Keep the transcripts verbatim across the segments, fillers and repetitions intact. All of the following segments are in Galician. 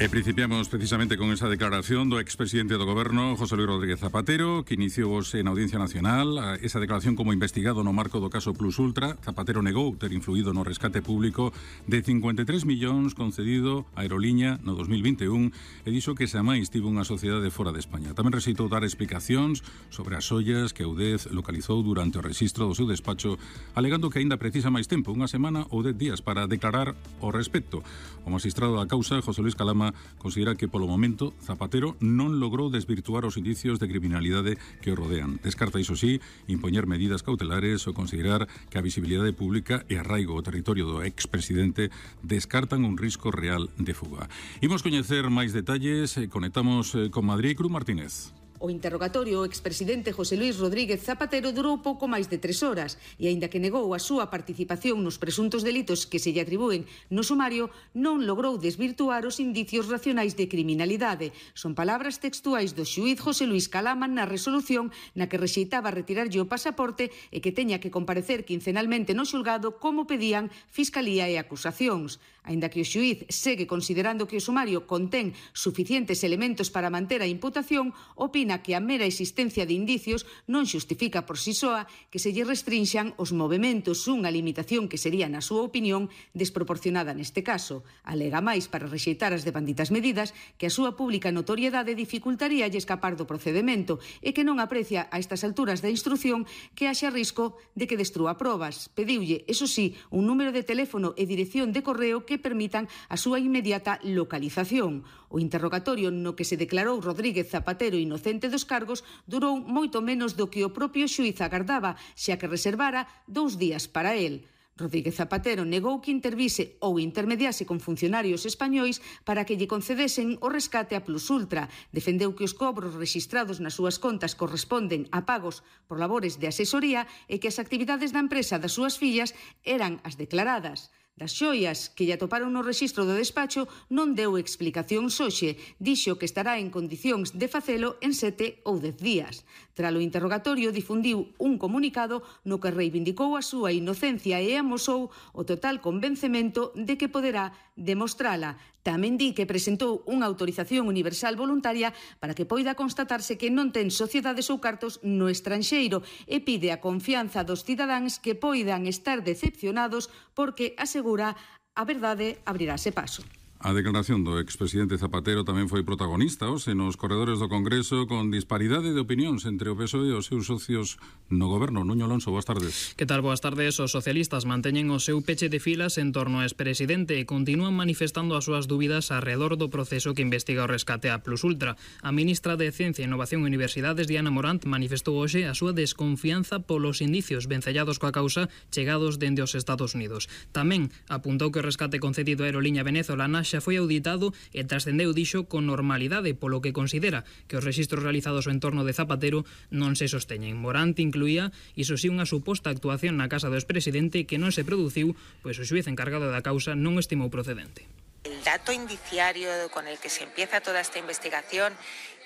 E principiamos precisamente con esa declaración do expresidente do Goberno, José Luís Rodríguez Zapatero, que iniciou hoxe na Audiencia Nacional. Esa declaración como investigado no marco do caso Plus Ultra. Zapatero negou ter influído no rescate público de cincuenta e tres millóns concedido á aeroliña no dos mil vinte e un e dixo que xa máis tivo unha sociedade fora de España. Tamén rexeitou dar explicacións sobre as ollas que Audez localizou durante o rexistro do seu despacho, alegando que aínda precisa máis tempo, unha semana ou dez días, para declarar ao respecto. O magistrado da causa, José Luís Calama, considera que polo momento Zapatero non logrou desvirtuar os indicios de criminalidade que o rodean. Descarta, iso sí, impoñer medidas cautelares ou considerar que a visibilidade pública e arraigo ao territorio do expresidente descartan un risco real de fuga. Imos coñecer máis detalles, conectamos con Madrid. Cruz Martínez. O interrogatorio ao expresidente José Luís Rodríguez Zapatero durou pouco máis de tres horas e, aínda que negou a súa participación nos presuntos delitos que se lle atribúen no sumario, non logrou desvirtuar os indicios racionais de criminalidade. Son palabras textuais do xuíz José Luís Calama na resolución na que rexeitaba retirarlle o pasaporte e que teña que comparecer quincenalmente no xulgado como pedían Fiscalía e acusacións. Aínda que o xuíz segue considerando que o sumario contén suficientes elementos para manter a imputación, opina que a mera existencia de indicios non xustifica por si soa que se lle restrinxan os movementos, unha limitación que sería, na súa opinión, desproporcionada neste caso. Alega máis, para rexeitar as devanditas medidas, que a súa pública notoriedade dificultaríalle escapar do procedemento e que non aprecia a estas alturas da instrución que haxa risco de que destrúa probas. Pediulle, eso sí, un número de teléfono e dirección de correo que permitan a súa inmediata localización. O interrogatorio no que se declarou Rodríguez Zapatero inocente dos cargos durou moito menos do que o propio xuíz agardaba, xa que reservara dous días para el. Rodríguez Zapatero negou que intervise ou intermediase con funcionarios españois para que lle concedesen o rescate a Plus Ultra. Defendeu que os cobros rexistrados nas súas contas corresponden a pagos por labores de asesoría e que as actividades da empresa das súas fillas eran as declaradas. Das xoias que lle atoparon no rexistro do despacho non deu explicación hoxe, dixo que estará en condicións de facelo en sete ou dez días. Tras o interrogatorio difundiu un comunicado no que reivindicou a súa inocencia e amosou o total convencemento de que poderá demostrala. Tamén di que presentou unha autorización universal voluntaria para que poida constatarse que non ten sociedades ou cartos no estranxeiro e pide a confianza dos cidadáns que poidan estar decepcionados porque asegura a verdade abrirase paso. A declaración do expresidente Zapatero tamén foi protagonista hoxe nos corredores do Congreso, con disparidade de opinións entre o P S O E e os seus socios no Goberno. Nuño Alonso, boas tardes. Que tal, boas tardes. Os socialistas manteñen o seu peche de filas en torno ao expresidente e continúan manifestando as súas dúbidas alrededor do proceso que investiga o rescate a Plus Ultra. A ministra de Ciencia, Innovación e Universidades, Diana Morant, manifestou hoxe a súa desconfianza polos indicios vencellados coa causa chegados dende os Estados Unidos. Tamén apuntou que o rescate concedido á aeroliña venezolana xa foi auditado e trascendeu, dixo, con normalidade, polo que considera que os rexistros realizados ao entorno de Zapatero non se sosteñen. Morant incluía, iso sí, unha suposta actuación na casa do expresidente que non se produciu, pois o xuíz encargado da causa non o estimou procedente. El dato indiciario con el que se empieza toda esta investigación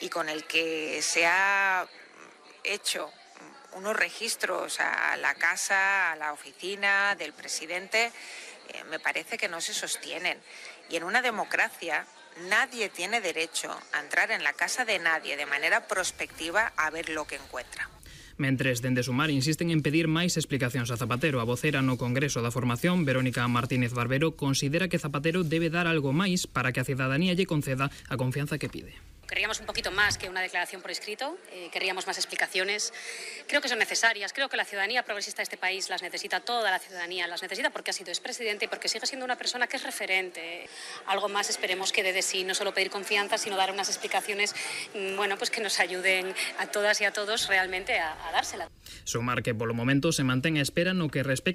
y con el que se ha hecho unos registros a la casa, a la oficina del presidente, eh, me parece que no se sostienen. Y en una democracia nadie tiene derecho a entrar en la casa de nadie de manera prospectiva a ver lo que encuentra. Mentres, dende Sumar insisten en pedir máis explicacións a Zapatero. A vocera no Congreso da Formación, Verónica Martínez Barbero, considera que Zapatero debe dar algo máis para que a cidadanía lle conceda a confianza que pide. Querríamos un poquito más que una declaración por escrito, eh, querríamos más explicaciones. Creo que son necesarias, creo que la ciudadanía progresista de este país las necesita, toda la ciudadanía las necesita, porque ha sido expresidente y porque sigue siendo una persona que es referente. Algo más esperemos que dé de sí, no solo pedir confianza, sino dar unas explicaciones, bueno, pues que nos ayuden a todas y a todos realmente a, a dársela. Sumar que polo momento se mantén a espera no que respecta